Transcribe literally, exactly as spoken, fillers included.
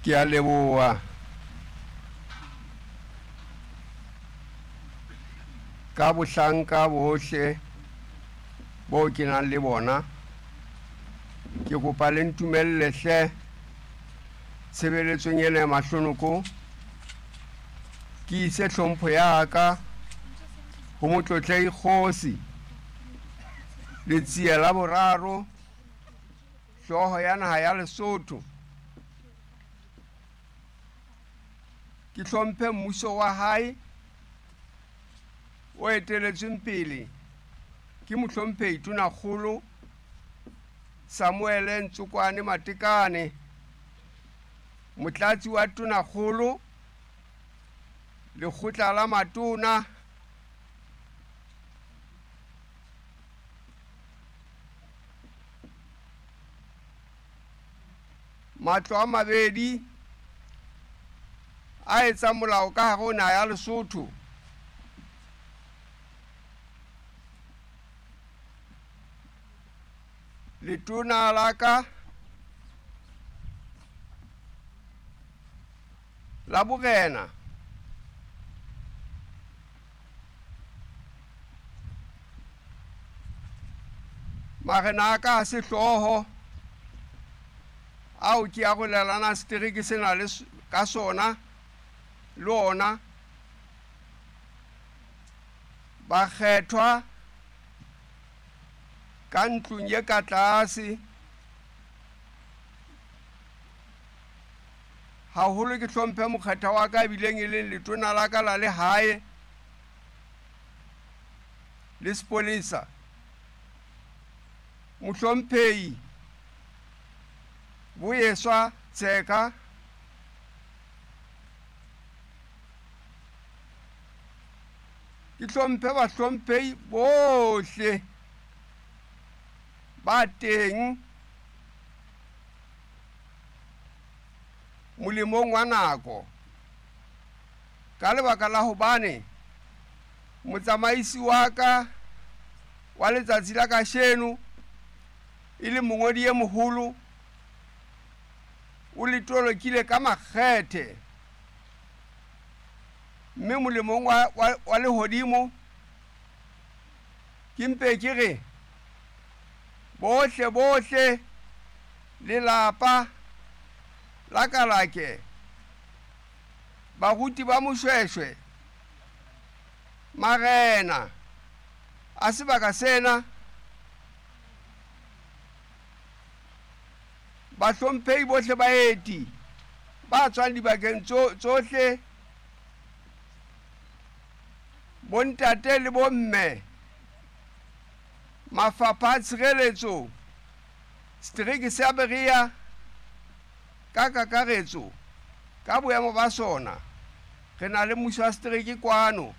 Ke a leboha. Ka bohlanka bohle bo ke nang le bona, ke kopa le ntumelle hle tshebeletsong ena ya mahlonoko, ke ise hlompho ya ka ho Motlotlehi Kgosi Letsie la Boraro, hlooho ya naha ya Lesotho. Ke hlomphe mmuso wa hae o eteletsweng pele ke Mohlomphehi Tonakgolo Samuel Ntsokwane Matekane, Motlatsi wa Tonakgolo, Lekgotla la Matona, matlo a mabedi a etsang molao ka hare ho naha ya Lesotho. Letona la ka la borena, marena a ka a sehlooho ao ke arolelana setereke sena le ka sona le ona, bakgethwa ka ntlong ye ka tlase, haholo ke hlomphe mokgetha wa ka ebileng e leng letona la ka la lehae le sepolesa, Mohlomphehi Boyeswa Tseka, ke hlomphe bahlomphehi bohle ba teng molemong wa nako, ka lebaka la hobane motsamaisi wa ka wa letsatsi la kasheno e le mongodi e moholo o le tolokile ka makgethe, mme molemong wa, wa, wa lehodimo ke mpe ke re bohle bohle lelapa la Kalake, baruti ba Moshweshwe, marena a sebaka sena, bahlomphehi bohle baeti ba tswang dibakeng tsohle, bontate le bomme, mafapha a tshireletso, setereke sa Berea ka kakaretso ka boemo ba sona, re na le mmuso wa setereke kwano.